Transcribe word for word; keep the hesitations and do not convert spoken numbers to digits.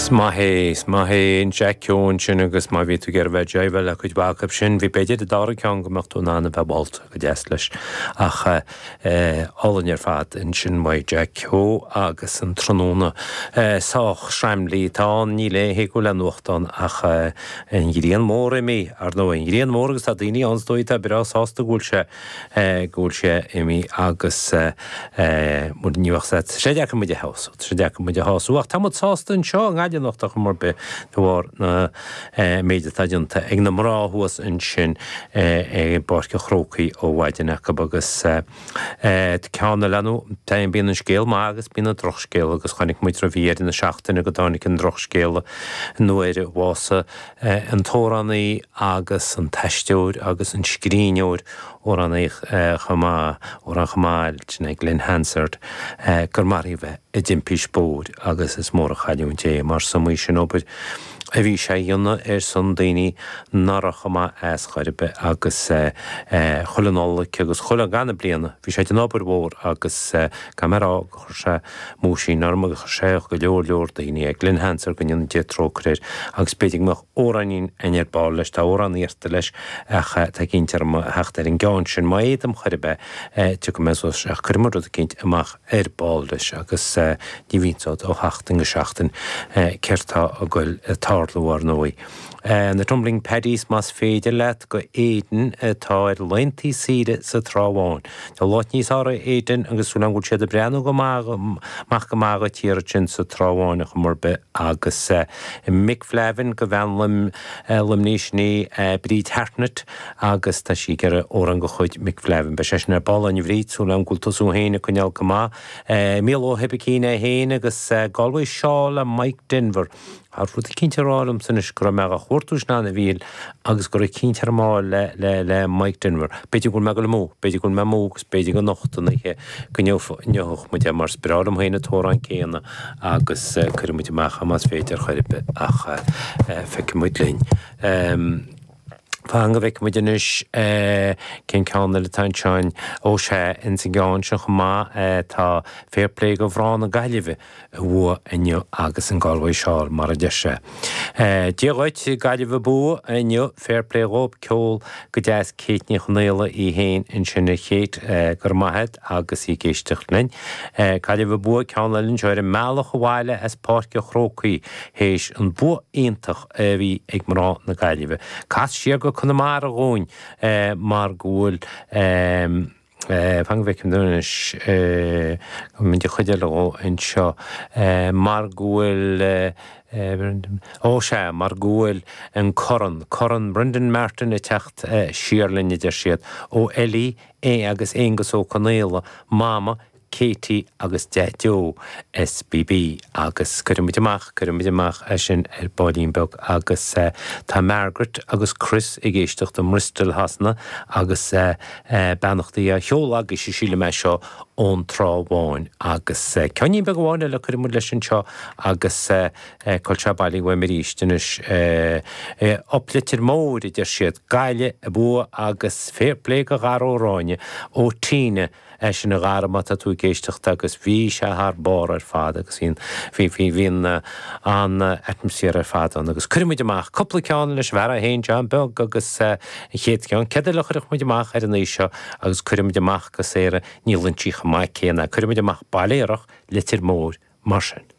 Is maith é, is maith é an Jack Keogh ansin agus má bhí tú ag iarraidh bheith ag jiveáil le cuid mhaith acu sin, bhí b'fhéidir an dara ceann go mbeadh tú in ann a bheith báilte go deas leis ach álainn ar fad ansin uaidh Jack Keogh agus an tráthnóna sách sraimlí atá ann, níl aon thuigeadh le nuachtán ach an ghrian mhór imithe, ar ndóigh, an ghrian mhór agus tá daoine ann is dóigh atá breá sásta go bhfuil sé go bhfuil sé imithe agus ní bheadh sé sé deacair muid a shású, sé deacair muid a shású ach tá muid sásta anseo i nGaillimh anocht ar chuma ar bith de bharr na méid atá déanta ag na mná thuas ansin i bPáirc an Chrócaigh ó mhaidin acu agus ceann eile nó bíonn an scéal maith agus bíonn an drochscéal agus chonaic muid roimh dheireadh na seachtaine go dtáinig an drochscéal nuair a bhásaigh an t-amhránaí agus an t-aisteoir agus an scríbhneoir amhránaí chomh maith, amhrán chomh maith sin é Glen Hansard, gur maraíodh é i dtimpist bóthair agus is mór an chailliúint é mar is iomaí sin obair a bhí sé a dhéanamh ar son daoine nach raibh chomh maith as chor ar bith agus chuile Nollaig agus chuile ghanna bliana bhí sé ag déanamh obair mhór agus caithfidh mé a rá gur chuir sé múisín orm agus chuir sé go leor leor daoine é Glen Hansard go ndéana Dia trócaire air agus b'fhéidir go mbeadh amhráinín againn ar ball leis, tá amhrán iarrta leis ach tá cinnte orm a theacht ar an gceann sin má fhéadaim chor ar bith tiocfaidh mé suas ach cuirfidh muid rud eicínt amach ar ball leis agus ní bhíonn siad ó sheachtain go seachtain céard tá ag goil ag tarlú ar ndóigh. Na Tumbling Paddies más féidir leat go Éirinn atá ar laethanta saoire sa Trá Bháin. Tá lá níos fearr ar Éirinn agus súil agam go bhfuil siad ag breathnú go maith amach go maith dhuit thiar ansin sa Trá Bháin ar chuma ar bith agus Mick Flavin go bhean Luimnigh sin í Bríd Hartnett agus tá sí ag iarraidh amhrán de chuid Mick Flavin. Beidh sé sin ar ball againn a Bhríd, súil agam go bhfuil tusa féin ag coinneáil go maith. Mícheál Ó hOibicín é féin agus Galway Shawl le Mike Denver. Tá rud eicínt ag rá liomsa anois go raibh mé á chuartú sin ann a Mhíchíl agus go raibh eicínt ar an mball le le le Mike Denver. B'fhéidir go bhfuil mé ag dul amú, b'fhéidir go bhfuil mé amú agus b'fhéidir go anocht an oíche go ngeobhadh muid é mar is breá liom féin an t-amhrán céanna agus cuirfidh muid amach é más féidir chor ar bith ach feicfidh muid linn. Fan go bhfeicfidh muid anois cén ceann eile atá anseo. Ó sea, ins an gceann seo chomh maith tá Fair Play go mhná na Gaillimhe a bhuaigh inniu agus an Galway Shawl mar a deir sé. Dia dhuit, Gaillimh abú inniu, Fair Play dhóibh, ceol go deas Kate Ní Chonaola í féin ansin a Kate, go raibh maith agat agus í ag éisteacht linn. Gaillimh abú ceann eile anseo ar an mbealach abhaile as Páirc an Chrócaigh théis an bua iontach a bhí ag mná na Gaillimhe. Cas siar go Conamara dhúinn mar go bhfuil fan go bhfeicim anois muid a chuid eile dhó anseo mar go bhfuil ó sea mar go bhfuil an corn, Corn Brendan Martin ag teacht siar linn a deir siad, ó Ellie agus Aengus Ó Conaola, Mama, Katie agus Daideo SBB agus cuirfidh muid amach, cuirfidh muid amach é sin ar baillín beag agus tá Margaret agus Chris ag éisteacht i mBristol Shasana agus beannachtaí á sheoladh agaibhse sílim é seo ón Trá Bháin agus ceainnín beag amháin eile cuirfidh muid leis anseo agus cá bhfuil sé bailithe uaim arís anois Up Leitir Móir a deir siad, Gaillimh abú agus fair play go Dhara Ó Ráinne ó Tina É sin a Dhara má tá tú ag éisteacht agus bhí sé thar barr ar fad agus bhí an, bhí, bhí, bhí an, an atmaisféar ar fad ann agus cuirfidh muid amach cúpla ceann leis an bhfear é féin, John Beag agus an chéad cheann, céard eile a chuirfeadh muid amach ar an oíche seo agus cuirfidh muid amach go Sarah, níl inti chomh maith céanna, cuirfidh muid amach Baile Aerach, Leitir Móir, mar sin.